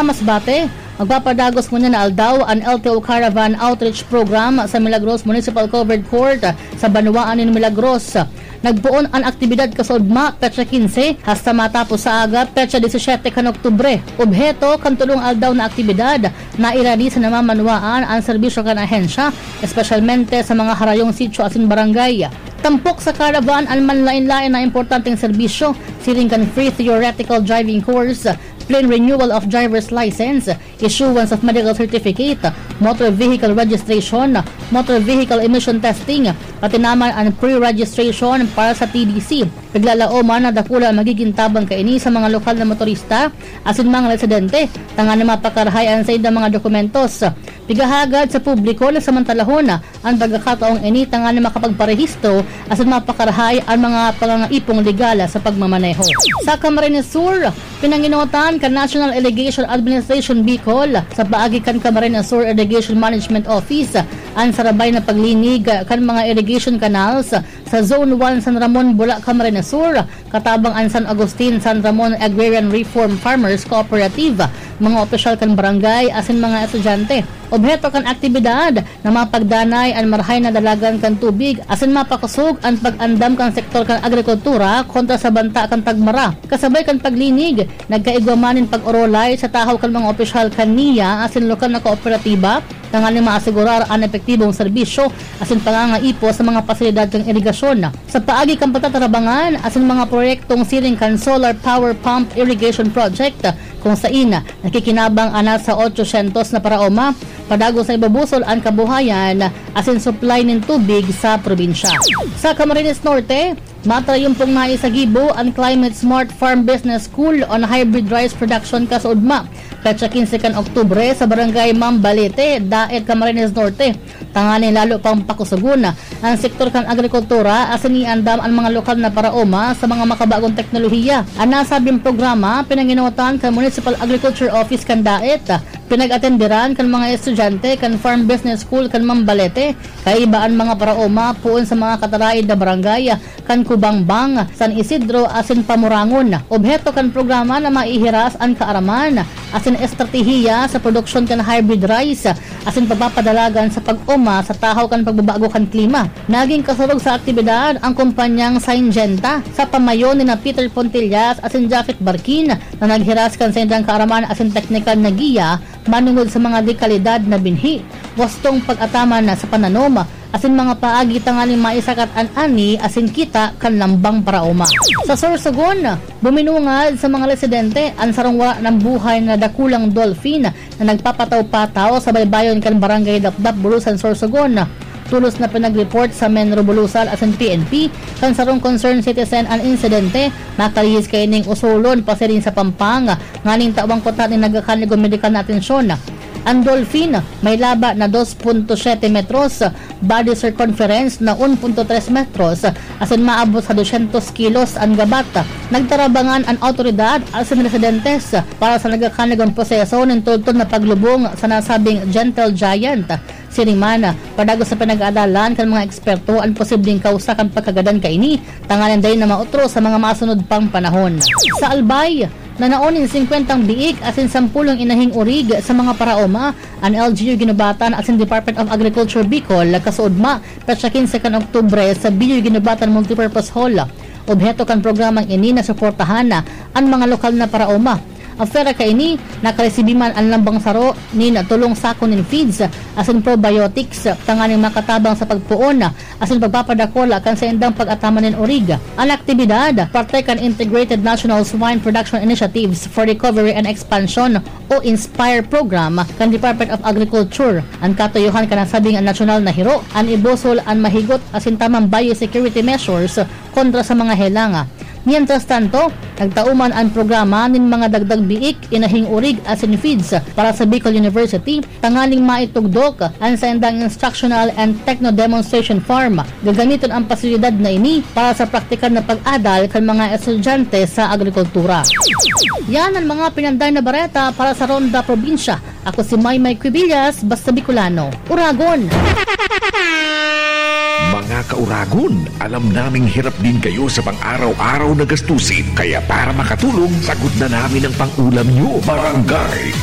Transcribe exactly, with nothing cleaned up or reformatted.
Masbate, magpapadagos ngunyan na aldaw an L T O Caravan Outreach Program sa Milagros Municipal Covered Court sa banwaan nin Milagros. Nagpoon an aktibidad kasaudma, petsa quince, hasta matapos sa aga, petsa disisiete kan Oktubre. Obheto kan tolong aldaw na aktibidad, nairani sa namamanwaan an serbisyo kan ahensya, espesyalmente sa mga harayong sityo asin barangay. Tampok sa caravan an manlaen-laen na importanteng serbisyo, siring kan free theoretical driving course, plain renewal of driver's license, issuance of medical certificate, motor vehicle registration, motor vehicle emission testing, pati naman an pre-registration para sa T D C. Naglalaoman na dakula an magigin tabang kaini sa mga lokal na motorista asin mga residente, tanganing mapakarahay an saindang mga dokumentos. Pigahagad sa publiko na samantalahon an pagkakataong ini tanganing makapagparehistro asin mapakarahay an mga pangangaipong legal sa pagmamaneho. Sa Camarines Sur, pinanginotan kan National Irrigation Administration Bicol sa paagi kan Camarines Sur Irrigation Management Office an sarabay na paglinig kan mga irrigation canals sa Zone one San Ramon, Bula, Camarines Sur, katabang an San Agustin San Ramon Agrarian Reform Farmers Cooperative, mga opisyal kan barangay asin mga estudyante. Obheto kan aktibidad na mapagdanay an marahay na dalagan kan tubig asin mapakosog an pag-andam kan sektor kan agrikultura kontra sa banta kan tagmara. Kasabay kan paglinig, nagkaigwa man nin pag-orolay sa tahaw kan mga opisyal kan NIA asin lokal na kooperatiba, tanganing maasegurar an epektibong serbisyo asin pangangaipo sa mga pasilidad kan irigasyon. Sa paagi kan pagtatarabangan asin mga proyektong siring kan Solar Power Pump Irrigation Project, kung sain nakikinabang an nasa otsosyentos na paraoma, padagos na ibubusol an kabuhayan asin supply nin tubig sa probinsya. Sa Camarines Norte, matrayumpong naisagibo an Climate Smart Farm Business School on Hybrid Rice Production kasaudma, petsa quince kan Oktubre, sa Barangay Mambalete, Daet, Camarines Norte, tanganing lalo pang pakusogon an sektor kan agrikultura asin iandam an mga lokal na paraoma sa mga makabagong teknolohiya. An nasabing programa, pinanginotan kan Municipal Agriculture Office kan Daet, pinag-atenderan kan mga estudyante kan Farm Business School kan Mambalete, kaiba an mga paraoma poon sa mga kataraid na barangay kan Cubangbang, San Isidro asin Pamorangon. Obheto kan programa na maihiras an kaaraman asin estratehiya sa produksyon kan hybrid rice asin pagpapadalagan sa pag-oma sa tahaw kan pagbabago kan klima. Nagin kasurog sa aktibidad an kumpanyang Syngenta sa pamayo nina Peter Pontillas asin Japhet Barquin na naghiras kan saindang kaaraman asin teknikal na giya manongod sa mga dekalidad na binhi, wastong pag-ataman na sa pananom, asin mga paagi tanganing maisakat an ani asin kita kan lambang paraoma. Sa Sorsogon, buminungad sa mga residente an sarong wara nang buhay na dakulang dolphin na nagpapataw-pataw sa baybayon kan Barangay Dapdap, Bulusan, Sorsogon. Tolos na pinag-report sa Menro Bulusan asin P N P kan sarong concerned citizen an insidente. Nakalihis kaining usolon pasiring sa Pampanga nganing tawan kuta nin nagkakanig o medikal na atensyon. An dolphin may laba na dos punto siyete metros, body circumference na un punto tres metros, asin maabot sa dosyentos kilos an gabat. Nagtarabangan an awtoridad asin residentes para sa nagkakanig an proseso nin tultol na paglubong sa nasabing gentle giant. Siring man, padagos na pinag-aadalan kan mga eksperto an posibleng kawsa kan pagkagadan kaini, tanganing dai na maotro sa mga masunod pang panahon. Sa Albay, nanao nin singkwentang biik asin sampulong inahing orig sa mga paraoma an L G U Guinobatan asin Department of Agriculture Bicol, kasuodma, petsa kinse kan Oktubre, sa B U Guinobatan Multipurpose Hall. Obheto kan programang ini na suportahan an mga lokal na paraoma. Apwera kaini, nakaresibi man an lambang saro nin tolong sako nin feeds asin probiotics tanganing makatabang sa pagpoon asin pagpapadakula kan saindang pag-ataman nin orig. An aktibidad, parte kan Integrated National Swine Production Initiatives for Recovery and Expansion o INSPIRE program kan Department of Agriculture. An katuyohan kan nasabing nasyonal na hiro, an ibusol an mahigot asin tamang biosecurity measures kontra sa mga helanga. Mientras tanto, nagtao man an programa nin mga dagdag biik, inahing orig asin feeds para sa Bicol University, tanganing maitugdok an saindang Instructional and Techno Demonstration Farm. Gagamiton an pasilidad na ini para sa praktikal na pag-adal kan mga estudyante sa agrikultura. Yan an mga pinanday na bareta para sa Ronda Probinsya. Ako si Maymay Quibillas, basta Bicolano. Uragon! Mga kauragon, alam naming hirap din kayo sa pang-araw-araw na gastusin. Kaya para makatulong, sagot na namin ang pang-ulam nyo. Barangay